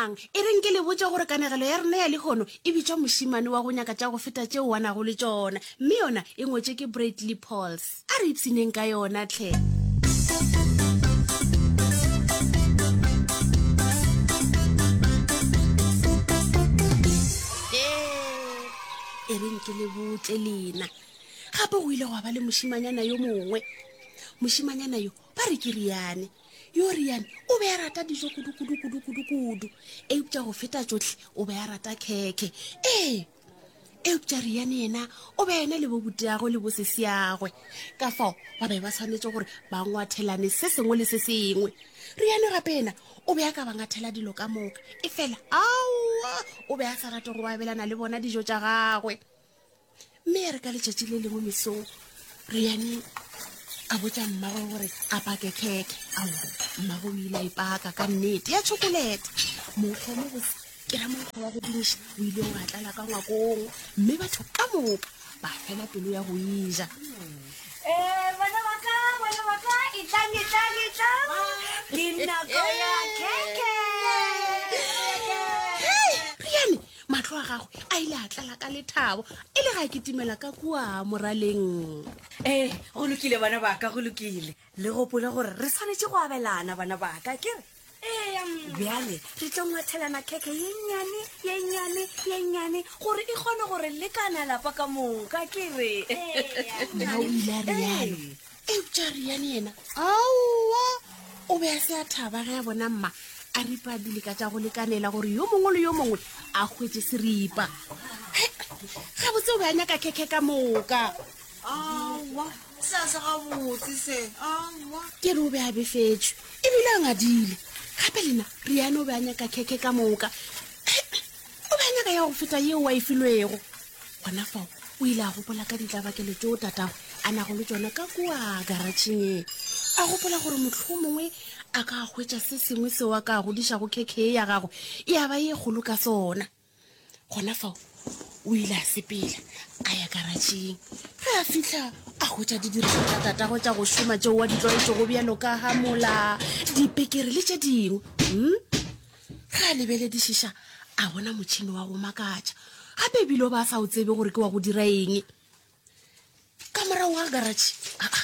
Bonang, e reng ke le botše gore kanegelo ya rena ya lehono e bitšwa Mošemane wa go nyaka tša go feta tšeo a nago le tšona, mme yona e ngwetšwe ke Bradley Pauls. A re ipshineng ka yona hle. E reng ke le botše lena. Gape go ile gwa ba le mošemanyana yo mongwe. Mošemanyana yo ba re ke Riane. Yo Riane o be a rata dijo kudu kudu kudu kudu kudu. Eupša go feta tšohle o be a rata khekhe. Ee, eupša Riane yena o be a ena le bobuteagwe le bosesiagwe. Ka fao ba be ba swanetše gore ba ngwathelane se sengwe le se sengwe. Riane gape yena o be a ka ba ngathela dilo ka moka. Efela aowa, o be a sa rate go abelana le bona dijo tša gagwe. Mme ya re ka letšatši le lengwe mesong, Riane a botša mmagwe gore a pake khekhe. Aowa, mmagwe o ile a ipaka ka nnete ya tšhokolete. Monkgo mo bose, ke ra monkgo wa go dumiša, o ile wa tlala ka ngwakong, mme batho ka moka ba fela pelo ya go e ja. Eh, bana ba ka, bana ba ka, etlang, etlang, etlang. Ke nako ya khekhe. Hei, Riane, Mahlo a gagwe a ile a tlala ka lethabo e le ga a kitimela ka kua moraleng. Ee, go lokile bana ba ka, go lokile. Le gopole gore re swanetše go abelana bana ba ka, ke re? Ee, mma. Bjale re tlo ngwathelana khekhe ye nnyane, ye nnyane, ye nnyane gore e kgone gore lekana lapa ka moka, ke re? Ee, Mma o ile a realo. Eupša Riane yena, aowa, o be a se a thaba ge a bona mma a ripa dileka tša go lekanela gore yo mongwe le yo mongwe a hwetše seripa. He, gabotse o be a nyaka khekhe ka moka. Aowa, se a se gabotse se, aowa. Ke re o be a befetšwe ebile a ngadile. Gape lena, Riane o be a nyaka khekhe ka moka. He, o be a nyaka ya go feta yeo a e filwego. Gona fao o ile a gopola ka ditlabakelo tšeo tatagwe a nago le tšona ka kua garatšheng. A gopola gore mohlomongwe a ka hwetša se sengwe seo a ka godišago khekhe ya gagwe ya ba ye kgolo ka sona. Gona fao o ile a sepela a ya karatšheng. Ge a fihla a hwetša didirišwa tša tatagwe tša go šoma tšeo a di tlwaetšego bjalo ka hamola, dipekere le tše dingwe. Hmm? Ge a lebeledišiša a bona motšhene wa go makatša, gape ebile o ba a sa o tsebe gore ke wa go dira eng. Ka morago ga garatšhe aa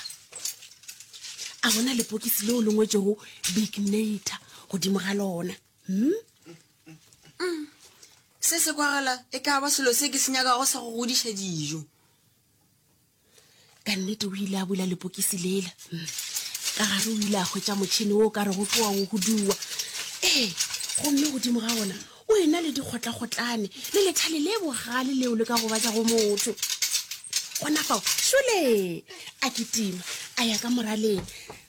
a bona lepokisi leo le ngwetšego Big Nator godimo ga lona. Hmm? Se se kwagala e ka ba selo se ke se nyakago sa go godiša dijo. Ka nnete o ile a bula lepokisi lela. Ka gare o ile a hwetša motšhene wo o ka rego ke wa go huduwa. Ee, gomme godimo ga ona o ena le dikgotlakgotlane le lethale le bogale leo le ka gobatšago motho. Gona fao, šole! A kitima a ya ka moraleng.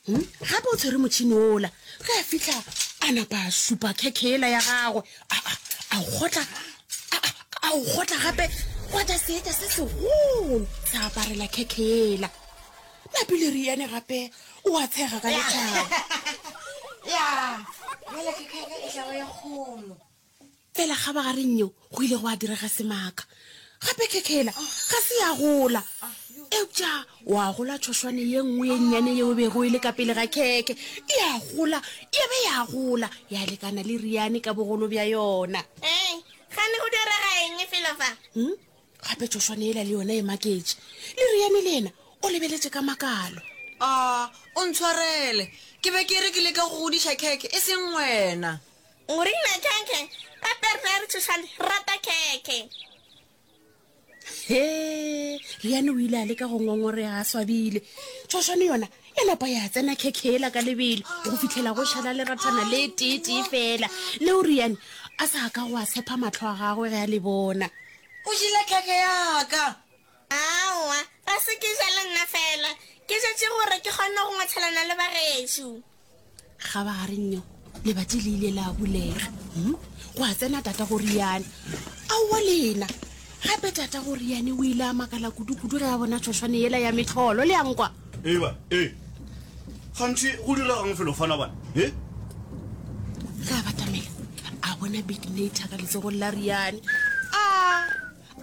Hmm? Gape o tshwere motšhene wola. Ge a fihla a napa a šupa khekhe yela ya gagwe. A, a, a o kgotla, a, a, a o kgotla gape gwa tša seetša se segolo sa aparela khekhe yela. Napile Riane gape o a tshega ka lethabo. Ya, bjale khekhe ya ka e tla ba ye kgolo. Fela kgabagareng yeo go ile gwa direga semaka. Gape khekhela ga se ya gola. Eupša wa gola tšhošwane ye nngwe ye nnyane yeo e bego e le ka pele ga khekhe. Ya gola, ya be ya gola, ya lekana le Riane ka bogolo bja yona. Hei, gane go direga eng felo fa? Hmm? Gape tšhošwane yela le yona e maketše. Le Riane le yena o lebeletše ka makalo. A, o ntshwarele. Ke be ke re ke leka go godiša khekhe, e seng wena. O rile khekhe, gape rena re tšhošane re rata khekhe. He, Riane o ile a leka go ngongorega a swabile. Tšhošwane yona ya napa ya tsena khekhe yela ka lebelo go fihlela go šala lerathana le tee-tee fela leo Riane a sa ka go a tshepa mahlo a gagwe ge a le bona. O jele khekhe ya ka! Aowa, ga se ke jale nna fela. Ke jetše gore ke kgone go ngwathelana le bagešo. Kgabagareng yeo, lebati le ile la bulega. Hmm? Gwa tsena tata go Riane. Aowa lena! Gape tata go Riane o ile a makala kudu-kudu ge a bona tšhošwane yela ya mehlolo. Le a nkwa? Eba, e. Gantši go diregang felo fana bana? E? Ge a batamela, a bona Big Nator ka letsogong la Riane. A!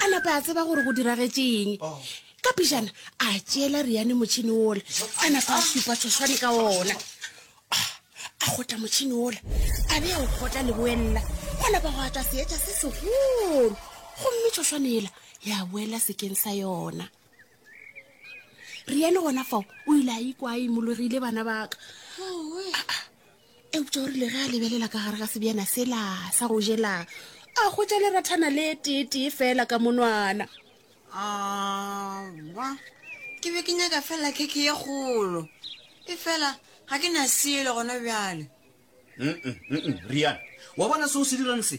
A napa a tseba gore go diragetše eng. Ka pejana a tšeela Riane motšhene wola, a napa a šupa tšhošwane ka wona. A kgotla motšhene wola, a be a o kgotla leboelela. Gwa napa gwa tšwa seetša se segolo gomme tšhošwane yela ya boela sekeng sa yona. Riane gona fao o ile a ikwa a imologile bana baka. Eupša o rile ge a lebelela ka gare ga sebjana sela sa go jela a hwetša lerathana le teetee fela ka monwana. Aowa, ke be ke nyaka fela khekhe ye kgolo. Efela ga ke na selo gona bjale. Rian, wa bona seo se dirang se?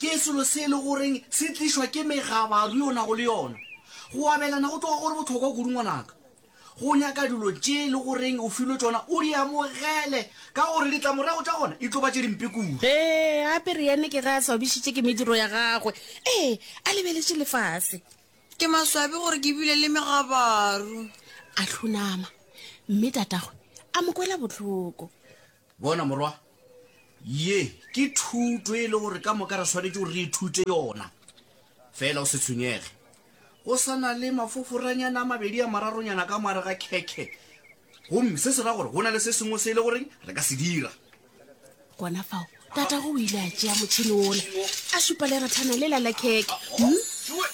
Ke selo se e le goreng se tlišwa ke megabaru ye o nago le yona. Go abelana go tloga go le bohlokwa kudu ngwanaka. Go nyaka dilo tše e le goreng o filwe tšona o di amogele ka gore ditlamorago tša gona e tlo ba tše dimpe kudu. Ee, gape Rian ke ge a swabišitše ke mediro ya gagwe. Ee, a lebeletše lefase. Ke maswabi gore ke bile le megabaru. A hlonama, mme tatagwe a mo kwela bohloko. Bona morwa, ye ke thuto e le gore ka moka re swanetše gore re ithute yona. Fela o se tshwenyege. Go sa na le mafoforanyana a mabedi a mararonyana ka moare ga khekhe. Gomme se se ra gore go na le se sengwe se e le goreng re ka se dira. Gona fao, tatago o ile a tšea motšhene wola, a šupa lerathana lela la khekhe, hm,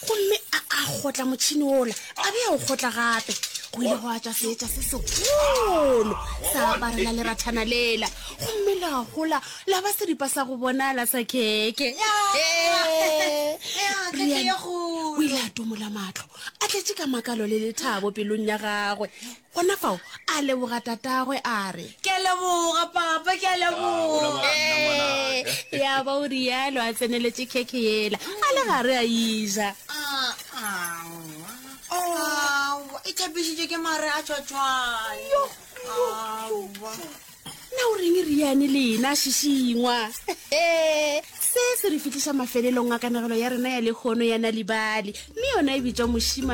gomme a a kgotla motšhene wola, a be a o kgotla gape. Go ile gwa tšwa seetša se segolo sa aparela lerathana lela, gomme la gola la ba seripa sa go bonala sa khekhe. Riaan o ile a tomola mahlo, a tletše ka makalo le lethabo pelong ya gagwe. Gona fao a leboga tatagwe a re. Ke a leboga, Papa, ke a leboga. Ee, ya ba o rialo a tseneletše khekhe yela, a le gare a e ja. Aowa, e tšhapišitšwe ke mare a tšhwatšhwane. Aowa. Na o reng Riane lena a šišingwa? Se se re fihliša mafelelong a kanegelo ya rena ya lehono ya Nal'ibali, mme yona e bitšwa Mošemane.